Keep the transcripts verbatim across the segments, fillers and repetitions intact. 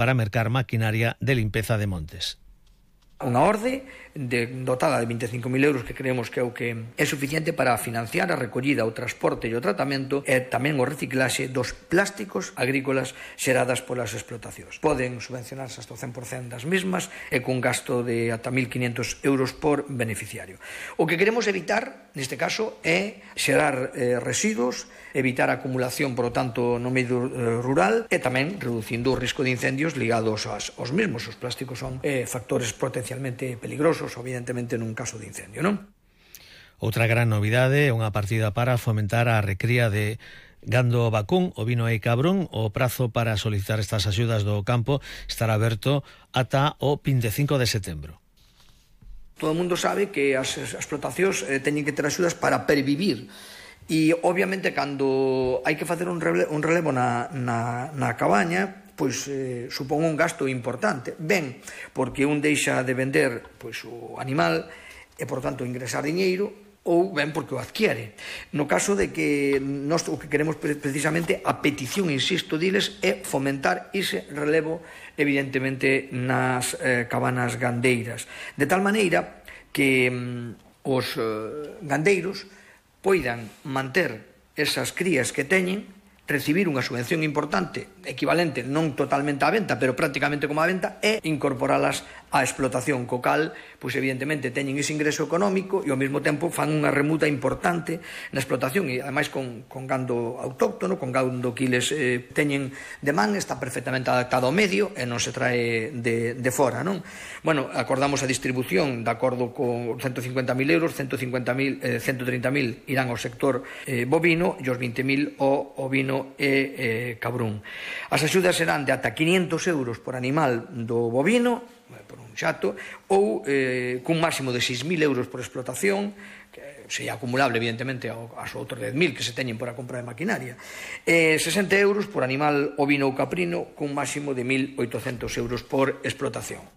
para mercar maquinaria de limpeza de montes. Unha orde de, dotada de vinte e cinco mil euros que creemos que é o que é suficiente para financiar a recollida, o transporte e o tratamento e tamén o reciclaxe dos plásticos agrícolas xeradas polas explotacións. Poden subvencionarse hasta o cen por cento das mesmas e cun gasto de ata mil quinientos euros por beneficiario. O que queremos evitar, neste caso, é xerar eh, residuos, evitar a acumulación, por lo tanto, no medio eh, rural e tamén reducindo o risco de incendios ligados aos, aos mesmos. Os plásticos son eh, factores potencialmente peligrosos, evidentemente, nun caso de incendio, non? Outra gran novidade é unha partida para fomentar a recría de gando vacún, ovino e cabrón. O prazo para solicitar estas axudas do campo estará aberto ata o vinte e cinco de setembro. Todo o mundo sabe que as explotacións eh, teñen que ter axudas para pervivir. E, obviamente, cando hai que facer un relevo, un relevo na, na, na cabaña, pois eh, supón un gasto importante. Ben, porque un deixa de vender pois, o animal e, por tanto, ingresar diñeiro, ou ben porque o adquiere. No caso de que nós o que queremos precisamente, a petición, insisto, diles, é fomentar ese relevo, evidentemente, nas eh, cabanas gandeiras. De tal maneira que mm, os eh, gandeiros poidan manter esas crías que teñen, recibir unha subvención importante, equivalente non totalmente á venta, pero prácticamente como á venta, e incorporalas á explotación, co cal, pois evidentemente teñen ese ingreso económico e ao mesmo tempo fan unha remuta importante na explotación e ademais con, con gando autóctono, con gando que eles eh, teñen de man, está perfectamente adaptado ao medio e non se trae de, de fora, non? Bueno, acordamos a distribución de acordo con ciento cincuenta mil euros, ciento cincuenta mil, eh, ciento treinta mil irán ao sector eh, bovino e os vinte mil ao ovino e eh, cabrún. As axudas serán de ata quinientos euros por animal do bovino, por un xato, ou eh, cun máximo de seis mil euros por explotación, que sería acumulable, evidentemente, aos outros dez mil que se teñen por a compra de maquinaria, e sesenta euros por animal ovino ou caprino, cun máximo de mil oitocentos euros por explotación.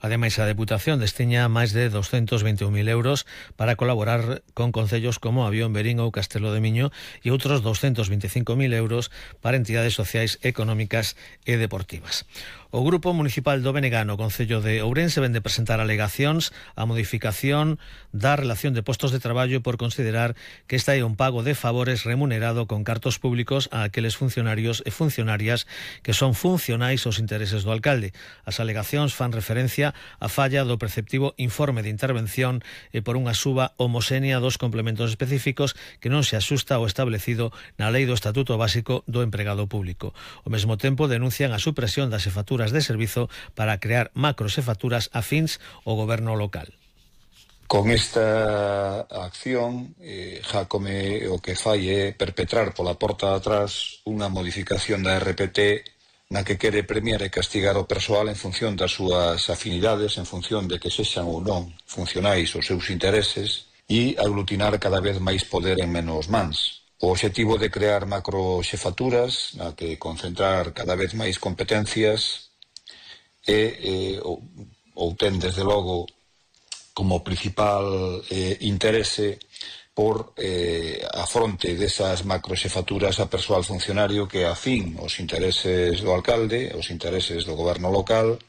Ademais, a Deputación destiña máis de doscientos vinte e un mil euros para colaborar con concellos como Avión, Verín ou Castelo de Miño e outros doscientos vinte e cinco mil euros para entidades sociais, económicas e deportivas. O Grupo Municipal do Benega no Concello de Ourense ven de presentar alegacións á modificación da relación de postos de traballo por considerar que esta é un pago de favores remunerado con cartos públicos a aqueles funcionarios e funcionarias que son funcionais aos intereses do alcalde. As alegacións fan referencia a falla do preceptivo informe de intervención e por unha suba homoxénea dos complementos específicos que non se axusta ao establecido na Lei do Estatuto Básico do Empregado Público. Ao mesmo tempo denuncian a supresión das xefaturas de servizo para crear macroxefaturas afíns ao goberno local. Con esta acción, eh, Jácome o que fai é perpetrar pola porta de atrás unha modificación da R P T na que quere premiar e castigar o persoal en función das súas afinidades, en función de que sexan ou non funcionais os seus intereses e aglutinar cada vez máis poder en menos mans. O obxectivo de crear macroxefaturas na que concentrar cada vez máis competencias e eh, ou, ou ten desde logo como principal eh, interese por eh, a fronte desas macroxefaturas a persoal funcionario que afín os intereses do alcalde, os intereses do goberno local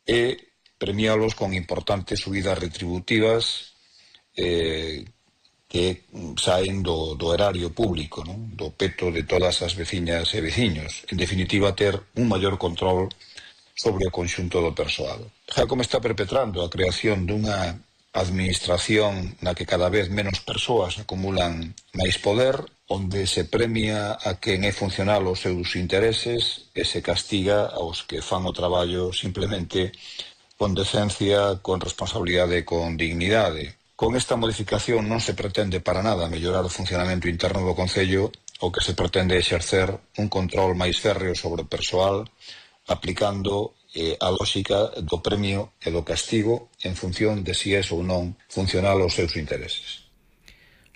e premialos con importantes subidas retributivas eh, que saen do, do erario público, non? Do peto de todas as veciñas e veciños. En definitiva, ter un maior control sobre o conxunto do persoal. Jácome está perpetrando a creación dunha administración na que cada vez menos persoas acumulan máis poder, onde se premia a quen é funcional os seus intereses e se castiga aos que fan o traballo simplemente con decencia, con responsabilidade e con dignidade. Con esta modificación non se pretende para nada mellorar o funcionamento interno do Concello, o que se pretende exercer un control máis férreo sobre o persoal, aplicando eh, a lógica do premio e do castigo en función de si é ou non funcional aos seus intereses.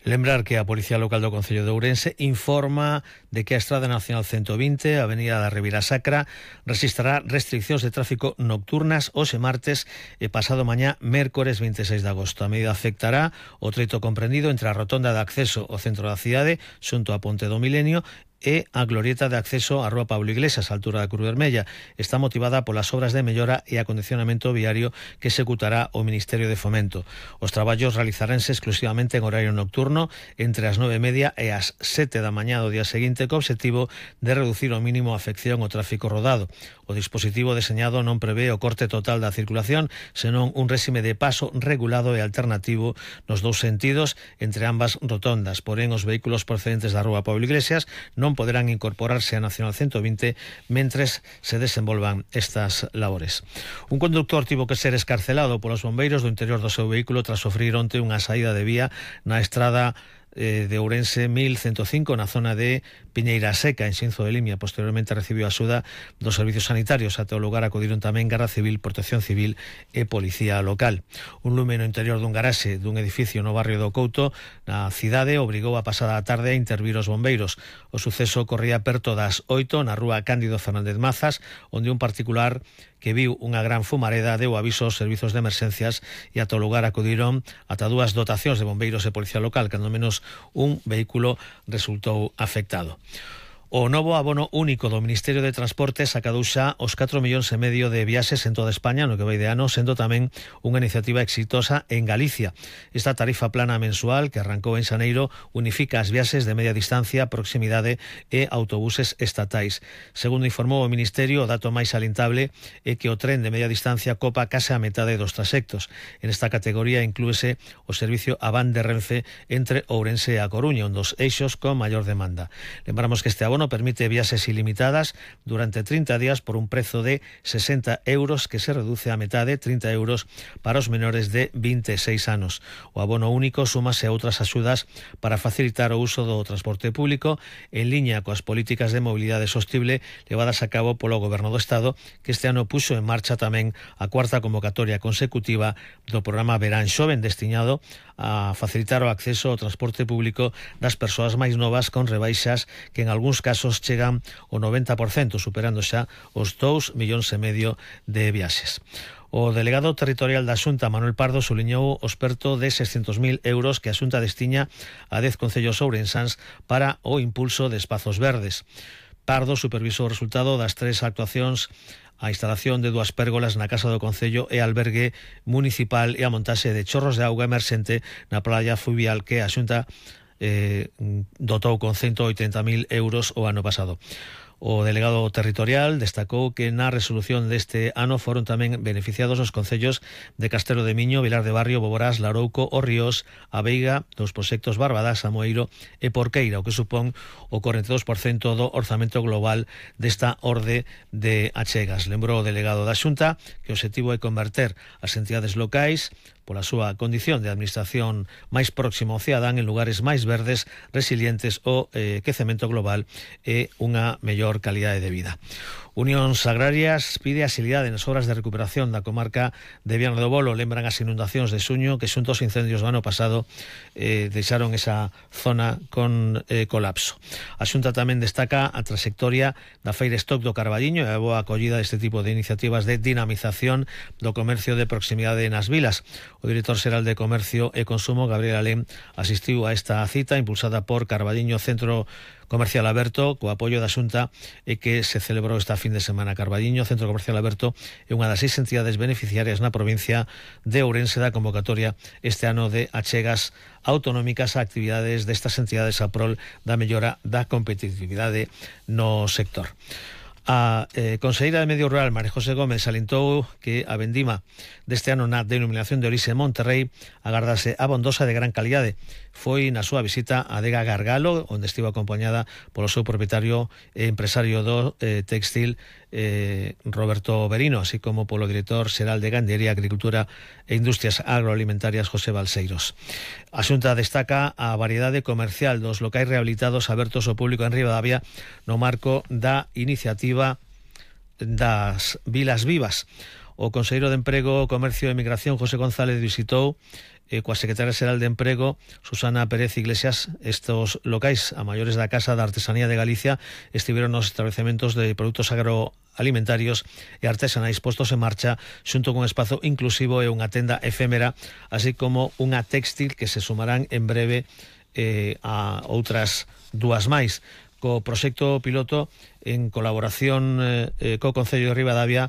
Lembrar que a Policía Local do Concello de Ourense informa de que a Estrada Nacional ciento vinte, a Avenida da Ribera Sacra, rexistrará restriccións de tráfico nocturnas hoxe martes e pasado mañá mércores vinte e seis de agosto. A medida afectará o treito comprendido entre a rotonda de acceso ao centro da cidade, xunto á Ponte do Milenio, e a glorieta de acceso á Rúa Pablo Iglesias, a altura da Cruz Vermella. Está motivada polas obras de mellora e acondicionamento viario que executará o Ministerio de Fomento. Os traballos realizaranse exclusivamente en horario nocturno entre as nove e media e as sete da mañá do día seguinte, co obxectivo de reducir ao mínimo a afección ao tráfico rodado. O dispositivo deseñado non prevé o corte total da circulación, senón un réxime de paso regulado e alternativo nos dous sentidos entre ambas rotondas. Porén, os vehículos procedentes da Rúa Pablo Iglesias non poderán incorporarse a Nacional ciento vinte mentres se desenvolvan estas labores. Un conductor tivo que ser escarcelado polos bombeiros do interior do seu vehículo tras sofrir onte unha saída de vía na estrada de Ourense mil ciento cinco na zona de Piñeira Seca, en Xinzo de Limia. Posteriormente recibiu a axuda dos servicios sanitarios. Ate o lugar acudiron tamén Garda Civil, Protección Civil e Policía Local. Un lume no interior dun garaxe dun edificio no barrio do Couto, na cidade, obrigou a pasada a tarde a intervir os bombeiros. O suceso corría perto das oito na rúa Cándido Fernández Mazas, onde un particular que viu unha gran fumareda deu aviso aos servizos de emerxencias e ata o lugar acudiron ata dúas dotacións de bombeiros e policía local, cando menos un vehículo resultou afectado. O novo abono único do Ministerio de Transportes acadou xa os catro millóns e medio de viaxes en toda España no que vai de ano, sendo tamén unha iniciativa exitosa en Galicia. Esta tarifa plana mensual que arrancou en xaneiro unifica as viaxes de media distancia, proximidade e autobuses estatais. Segundo informou o Ministerio, o dato máis salientable é que o tren de media distancia copa case a metade dos traxectos. En esta categoría inclúese o servicio Avan de Renfe entre Ourense e A Coruña, un dos eixos con maior demanda. Lembramos que este abono permite viaxes ilimitadas durante trinta días por un prezo de sesenta euros que se reduce a metade, trinta euros para os menores de vinte e seis anos. O abono único súmase a outras axudas para facilitar o uso do transporte público en liña coas políticas de mobilidade sostible levadas a cabo polo Goberno do Estado, que este ano puxo en marcha tamén a cuarta convocatoria consecutiva do programa Verán Xoven, destinado a facilitar o acceso ao transporte público das persoas máis novas con rebaixas que en algúns casos chegan ao noventa por cento, superando xa os dous millóns e medio de viaxes. O delegado territorial da Xunta, Manuel Pardo, suliñou o experto de seiscentos mil euros que a Xunta destiña a dez concellos ourensáns para o impulso de espazos verdes. Pardo supervisou o resultado das tres actuacións, a instalación de dúas pérgolas na Casa do Concello e albergue municipal e a montaxe de chorros de auga emerxente na playa fluvial que a Xunta eh, dotou con ciento oitenta mil euros o ano pasado. O delegado territorial destacou que na resolución deste ano foron tamén beneficiados os concellos de Castelo de Miño, Vilar de Barrio, Boborás, Larouco, O Ríos, A Veiga, dos proxectos Barbadás, Amoeiro e Porqueira, o que supón o corenta e dous por cento do orzamento global desta orde de achegas. Lembrou o delegado da Xunta que o obxectivo é converter as entidades locais pola súa condición de administración máis próxima ao cidadán en lugares máis verdes, resilientes ao eh, quecemento global e unha mellor calidade de vida. Unións Agrarias pide axilidade nas obras de recuperación da comarca de Viana do Bolo. Lembran as inundacións de xuño que xunto aos incendios do ano pasado eh, deixaron esa zona con eh, colapso. A Xunta tamén destaca a trayectoria da Feira Stock do Carballiño e a boa acollida deste tipo de iniciativas de dinamización do comercio de proximidade nas vilas. O director xeral de Comercio e Consumo, Gabriel Alén, asistiu a esta cita impulsada por Carballiño Centro Comercial Aberto, co apoio da Xunta, e que se celebrou esta fin de semana. Carballiño Centro Comercial Aberto é unha das seis entidades beneficiarias na provincia de Ourense da convocatoria este ano de achegas autonómicas a actividades destas entidades a prol da mellora da competitividade no sector. A eh, conselleira de Medio Rural, María José Gómez, salientou que a vendima deste ano na denominación de orixe Monterrey agardase abondosa de gran calidade. Foi na súa visita a Adega Gargalo, onde estivo acompañada polo seu propietario e empresario do eh, textil eh, Roberto Berino, así como polo director xeral de Gandería, Agricultura e Industrias Agroalimentarias, José Balseiros. A Xunta destaca a variedade comercial dos locais rehabilitados abertos ao público en Ribadavia no marco da iniciativa das Vilas Vivas. O conselleiro de Emprego, Comercio e Migración, José González, visitou eh, coa secretaria xeral de Emprego, Susana Pérez Iglesias, estos locais a maiores da Casa da Artesanía de Galicia. Estiveron nos establecementos de produtos agroalimentarios e artesanais postos en marcha xunto con un espazo inclusivo e unha tenda efémera, así como unha textil que se sumarán en breve eh, a outras dúas máis. co proxecto piloto en colaboración eh, co Concello de Ribadavia